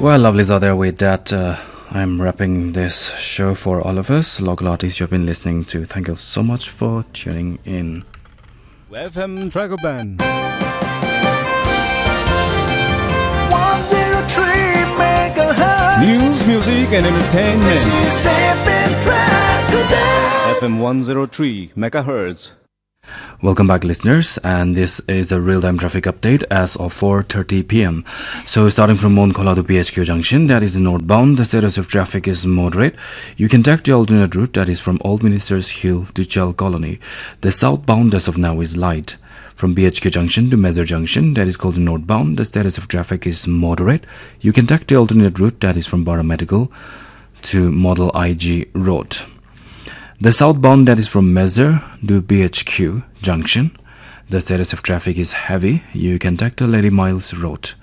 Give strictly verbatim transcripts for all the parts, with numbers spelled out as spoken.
Well, lovelies out there, with that, uh, I'm wrapping this show for all of us. Local artists you have been listening to, thank you so much for tuning in. F M Dragon Band. One zero three megahertz. News, music, and entertainment. This is F M Dragon Band. F M one zero three megahertz. Welcome back, listeners, and this is a real-time traffic update as of four thirty p m. So, starting from Mon Khola to B H Q junction, that is the northbound, the status of traffic is moderate. You can take the alternate route, that is from Old Ministers Hill to Chal Colony. The southbound as of now is light. From B H Q junction to Mezar junction, that is called the northbound, the status of traffic is moderate. You can take the alternate route, that is from Bara Medical to Model I G Road. The southbound, that is from Mezar to B H Q junction, the status of traffic is heavy. You can take the Lady Miles Road.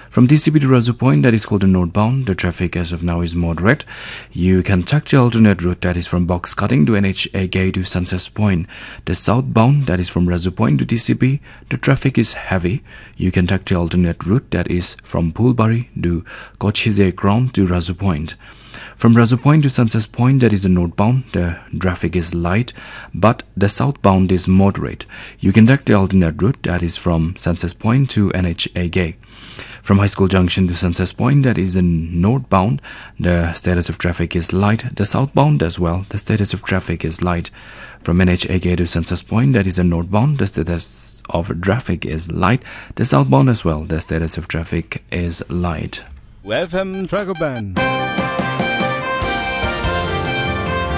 From T C B to Razu Point, that is called the northbound, the traffic as of now is moderate. You can take the alternate route, that is from Box Cutting to N H A Gate to Sunset Point. The southbound, that is from Razu Point to T C B, the traffic is heavy. You can take the alternate route, that is from Phulbari to Kochize Ground to Razu Point. From Razu Point to Sunset Point, that is a northbound, the traffic is light, but the southbound is moderate. You can take the alternate route, that is from Sunset Point to N H A Gate. From High School Junction to Sunset Point, that is in northbound, the status of traffic is light. The southbound as well, the status of traffic is light. From N H A Gate to Sunset Point, that is in northbound, the status of traffic is light. The southbound as well, the status of traffic is light. F M Dragon Band.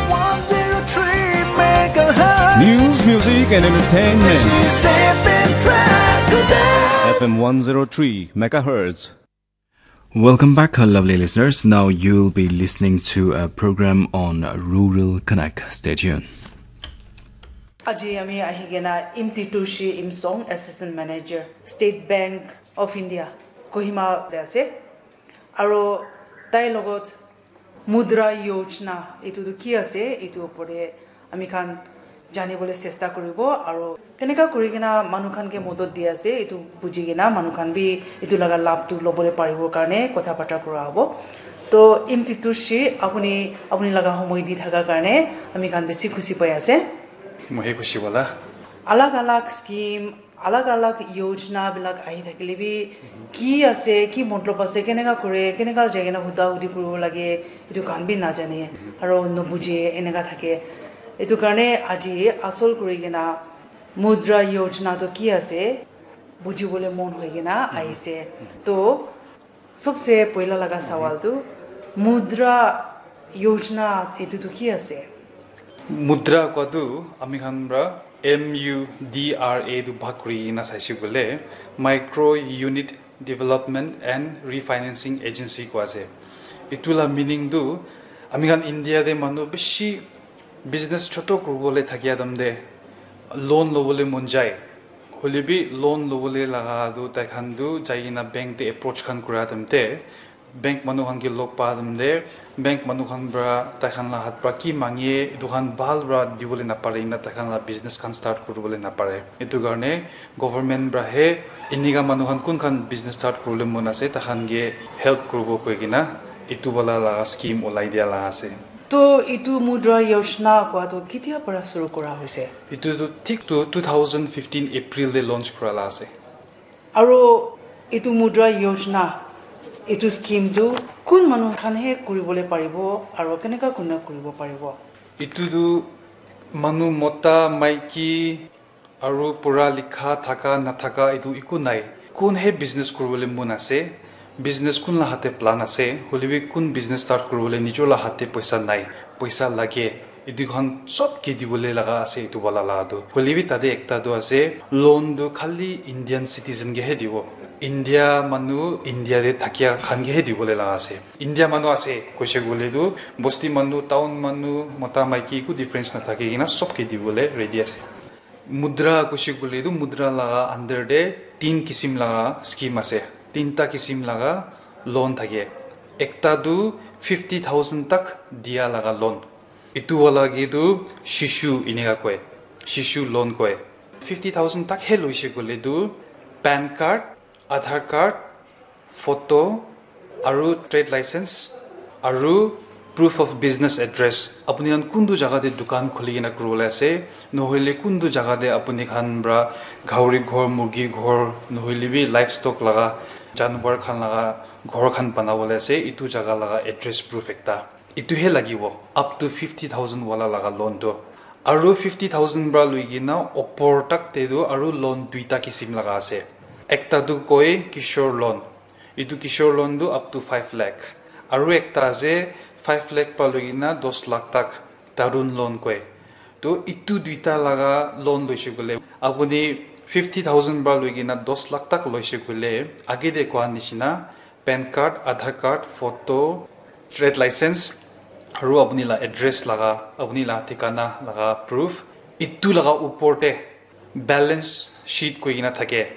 One zero three megahertz. News, music, and entertainment. This is F M Dragon Band. F M one zero three megahertz. Welcome back, lovely listeners. Now you'll be listening to a program on Rural Connect. Stay tuned. Aji ami ahi kena Imtitushi Imsong, Assistant Manager, State Bank of India, Kohima te ase. Aro tai logot Mudra Yojana, etu tu ki ase, etu opor te ami khan jani bole chesta kuribo, aro keneka kuri kena manu khan ke modot di ase, etu buji kena manu khan bi etu laga labh tu lobole paribo karne kotha bata kura hobo. To Imtitushi, apuni, apuni laga homoi di thaka karne ami khan besi khushi pai ase. Moi he khushi wala. Alag alag scheme, alag alag yojana bilak ahi thakile bi, ki ase, ki matlab ase, keneka kore, keneka jai kena huda hudi kuribo lage, etu khan bi najane, aro nobuje, eneka thake. Etu karne aji asol kuri kena Mudra Yojana to ki ase, bujibole mon hoi kena ahise. To, sobse poila laga sawal tu, Mudra Yojana etu tu ki ase? Mudra koa tu ami khan pra M U D R A tu bhag kuri kena saise koile, Micro Unit Development and Refinancing Agency koa ase. Etu la meaning tu ami khan India te manu bishi business choto kuribole thakia time te loan lobole mon jai. Hoile bi loan lobole laga tu tai khan tu jai kena bank te approach khan kura time te bank manu khan ke log pa time te bank manu khan pra tai khan la hath pra ki mange etu khan bhal pra dibole napare na tai khan la business khan start kuribole napare. Etu karne government pra he enika manu khan kun khan business start kuribole mon ase tai khan ke help kuribo koi kena etu wala laga scheme ulai dia laga ase. To etu Mudra Yojana koa tu ketia para shuru kura hoise? Etu tu thik tu two thousand fifteen April te launch kura la ase. Aro etu Mudra Yojana, etu scheme tu kun manu khan he kuribole paribo aro keneka kurina kuribo paribo? Etu tu manu mota, maiki, aru pura likha thaka nathaka etu eku nai. Kun he business kuribole mon ase, business kun la hate plan ase, hoile bi kun business start kuribole nijor la hate poisa nai, poisa lage, etu khan sob ke dibole laga ase etu wala la tu. Hoile bi tate ekta tu ase, loan tu khali Indian citizen ke he dibo. India manu, India te thakia khan ke he dibole laga ase. India manu ase, koise koile tu, bosti manu, town manu, mota maiki eku difference nathaki kena sob ke dibole ready ase. Mudra koise koile tu mudra laga under te tin kisim laga scheme ase. Tinta kisim laga loan thake. Ekta tu fifty thousand tak dia laga loan. Etu wala ke tu shishu eneka koi. Shishu loan koi. Fifty thousand tak he loise koile tu pan card, Aadhaar card, photo, aru trade license, aru proof of business address. Apuni khan kuntu jaga te dukan khuli kena kuribole ase, nohoile kuntu jaga te apuni khan pra gauri ghor, murgi ghor, nohoile bi livestock laga, janwar khan laga ghor khan banabole ase, itu jaga laga address proof ekta. Itu he lagibo, up to fifty thousand wala laga loan tu. Aru fifty thousand pra lui kena opor tak te tu aru loan duita kisim laga ase. Ekta tu koi Kishore loan. Itu Kishore loan tu up to five lakh. Aru ekta ase five lakh pa lui kena dos lakh tak, Tarun loan koi. To itu duita laga loan loise koile, apuni fifty thousand pra lui kena dos lakh tak loise koile, age te koa nishina, pan card, Aadhaar card, photo, trade license, aru apuni la address laga, apuni la thikana laga proof, itu laga upor te balance sheet koi kena thake,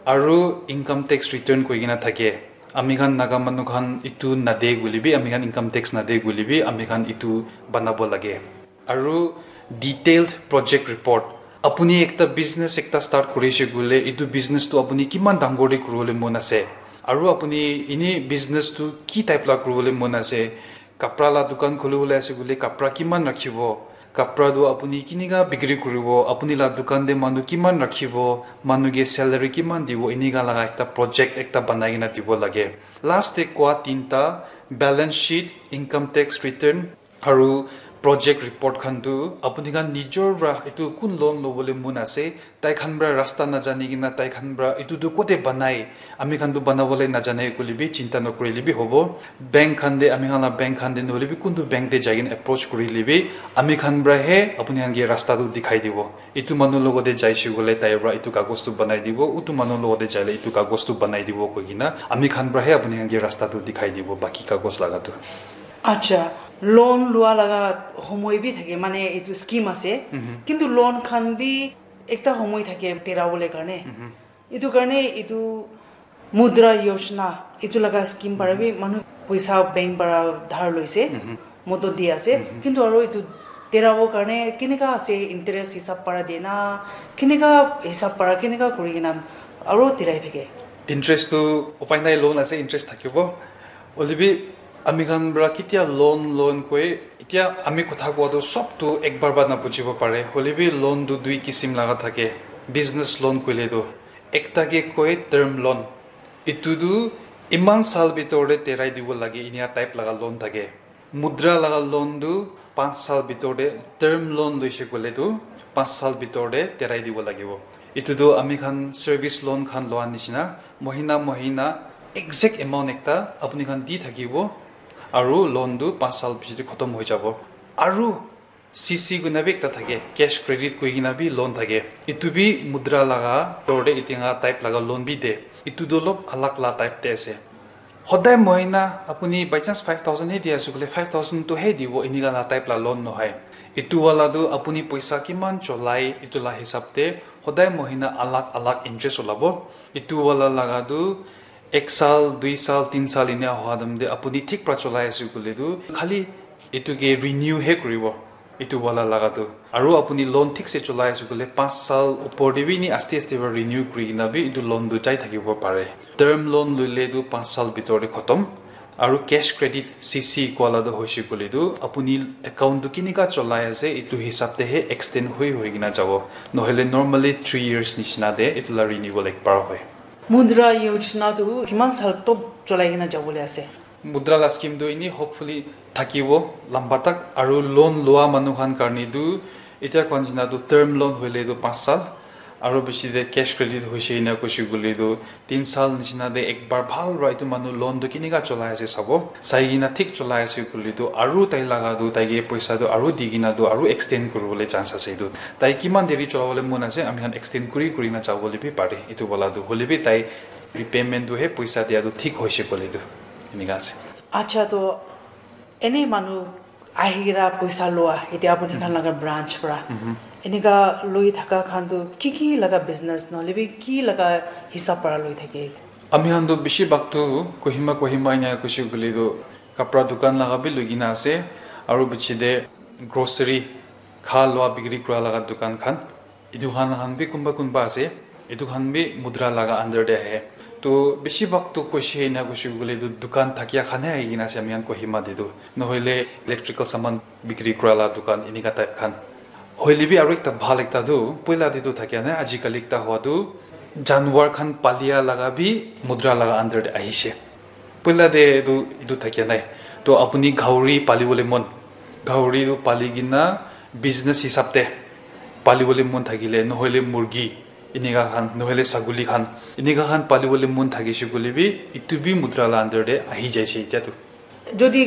aru income tax return koi kena thake. Ami khan Naga manu khan itu nade koile bi, ami khan income tax nade koile bi, ami khan itu banabo lage. Aru detailed project report. Apuni ekta business ekta start kurise koile, itu business tu apuni kiman dangor te kuribole mon ase? Aru apuni ini business tu ki type la kuribole mon ase? Kapra la dukan khulibole ase koile, kapra kiman rakhibo? Kapra tu apuni kinika bikri kuribo? Apuni la dukan te manu kiman rakhibo? Manu ke salary kiman dibo? Inika laga ekta project ekta banai kena dibo lage. Last te koa tinta, balance sheet, income tax return, aru project report khan tu apuni khan nijor pra itu kun loan lobole mon ase, tai khan pra rasta najani kena tai khan pra itu tu kote banai, ami khan tu banabole najane koile bi chinta nokurile bi hobo. Bank khan te, ami khan la bank khan te nohoile bi kuntu bank te jai kena approach kurile bi ami khan pra he apuni khan ke rasta tu dikhai dibo. Itu manu logote jaise koile tai pra itu kagos tu banai dibo, utu manu logote jaile itu kagos tu banai dibo koi kena ami khan pra he apuni khan ke rasta tu dikhai dibo, baki kagos laga tu. Acha, loan lua laga homoi bi thake, mane itu scheme ase. Mhm. Kintu loan khan bi ekta homoi thake terabole karne. Mhm. Itu karne itu Mudra Yojana, itu laga scheme para bi manu poisa bank para dhar loise, Mhm. modot di ase. Mhm. Kintu aro itu terabo karne keneka ase, interest hisab para dena, keneka hisab para, keneka kuri kena aro terai thake. Interest tu upai nai, loan ase, interest thakibo. Hoilebi ami khan pra ketia loan, loan koi, etia ami kotha koa tu sob tu ekbar ba na bujibo pare. Hoilebi loan tu dui kisim laga thake. Business loan koile tu ekta ke koi term loan. Etu tu iman sal bitor te terai dibo lage, inia type laga loan thake. Mudra laga loan tu panch sal bitor te, term loan loise koile tu panch sal bitor te terai dibo lagibo. Etu tu ami khan service loan khan loa nishina, mohina mohina exact amount ekta apuni khan di thakibo, aru loan tu panch sal piche te khotom hoi jabo. Aru C C koina bi ekta thake, cash credit koi kena bi loan thake. Etu bi Mudra laga bitor te etinga type laga loan bi de. Etu tu olop alag la type te ase. Hodai mohina apuni by chance five thousand he di ase koile, five thousand tu he dibo, enika la type la loan nohoi. Etu wala tu apuni poisa kiman cholai, etu la hisab te hodai mohina alag alag interest olabo. Etu wala laga tu ek sal, dui sal, tin sal enia hoa dam te apuni thik pra cholai ase koile tu khali etu ke renew he kuribo. Etu wala laga tu. Aru apuni loan thik se cholai ase koile, panch sal upor te bi ni aste aste para renew kuri kena bi etu loan tu jai thakibo pare. Term loan loile tu panch sal bitor te khotom. Aru cash credit, C C, koa la tu hoise koile tu apuni account tu kinika cholai ase, etu hisab te he extend hoi hoi kena jabo. Nohole normally three years nishina te etu la renewal ekbar hoi. Mudra Yojana tu kiman sal top cholai kena jabole ase? Mudra la scheme tu ini hopefully thakibo lamba tak, aru loan loa manu khan karne tu etia koa nishina tu term loan hoile tu panch sal, aru bishi te cash credit hoise ena koise koile tu tin sal nishina te ekbar bhal para etu manu loan tu kinika cholai ase sabo, sai kena thik cholai ase koile tu aru tai laga tu tai ke poisa tu aru di kena tu aru extend kuribole chance ase etu. Tai kiman deri cholabole mon ase, ami khan extend kuri kuri na jabole bi pare etu wala tu. Hoile bi tai repayment tu he poisa dia tu thik hoise koile tu enika ase. Acha, to ene manu ahi kena poisa loa, etia apuni khan laga branch pra. Mhm. Enika loi thaka khan tu ki ki laga business nohole bi ki laga hisab pra loi thake? Ami khan tu bishi bhag tu Kohima, Kohima ena koise koile tu kapra dukan laga bi loi kena ase, aru biche te grocery, kha loa bikri kura laga dukan khan. Etu khan, khan bi kunba kunba ase, etu khan bi Mudra laga under te ahe. To bishi bhag to koise ena koise koile tu dukan thakia khan he ahi kena ase ami khan Kohima te tu. Nohoile electrical saman bikri kura la dukan enika type khan. Hoile bi aro ekta bhal ekta tu, poila te tu thakia nai, ajikali ekta hua tu janwar khan palia laga bi mudra laga under te ahise. Poila te etu, etu thakia nai. To apuni gauri pali bole mon, gauri tu pali kena business hisab te pali bole mon thakile, nohoile murgi, enika khan, nohoile saguli khan, enika khan pali bole mon thakise koile bi, etu bi mudra la under te ahi jaise etia tu. Jodi